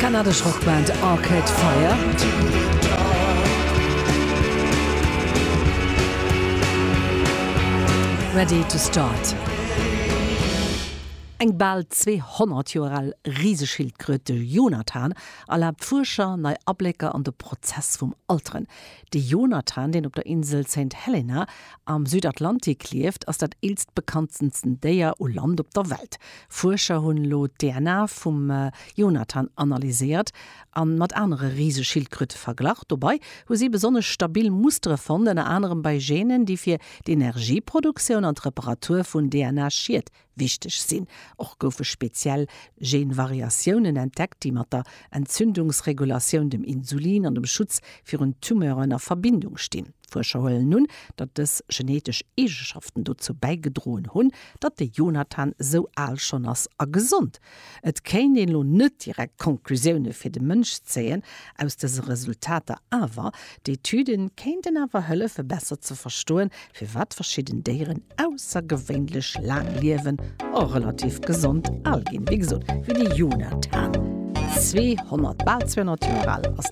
Kanadesch Rockband Arcade Fire. Ready to start. Eng bal 200 Joer al Riseschildkröt, de Jonathan, erlaabt Fuerscher nei Ablécker an de Prozess vum Alteren. De Jonathan, deen op der Insel Saint Helena am Südatlantik lieft, ass dat eelst bekanntensten Déier u Land op der Welt. Fuerscher hunn elo d'DNA vum Jonathan analyséiert a mat anere Riseschildkröte verglach. Dobei hu si besonnesch stabil Mustere fonnt, ënner anerem bei Genen, déi fir d'Energieproduktioun an d'Reparatur vun DNA-Schied wichteg sinn. Och goufe speziell Genvariatiounen entdeckt, déi mat der Entzündungsregulatioun, dem Insulin an dem Schutz virun Tumeuren a Verbindung stinn. D'Fuerscher huelen un, datt dës genetesch Eegeschaften dozou bäigedroen hunn, datt de Jonathan esou al schonn ass a gesond. Et kéint een elo net direkt Konklusioune fir de Mënsch zéien aus dëse Resultater, awer d'Etüde kéinten awer hëllefe besser ze verstoen, firwat verschidden Déieren aussergewéinlech laang liewen a relativ gesond al ginn. Wéi gesot, wéi de Jonathan, 200, bal 200 Joer al ass.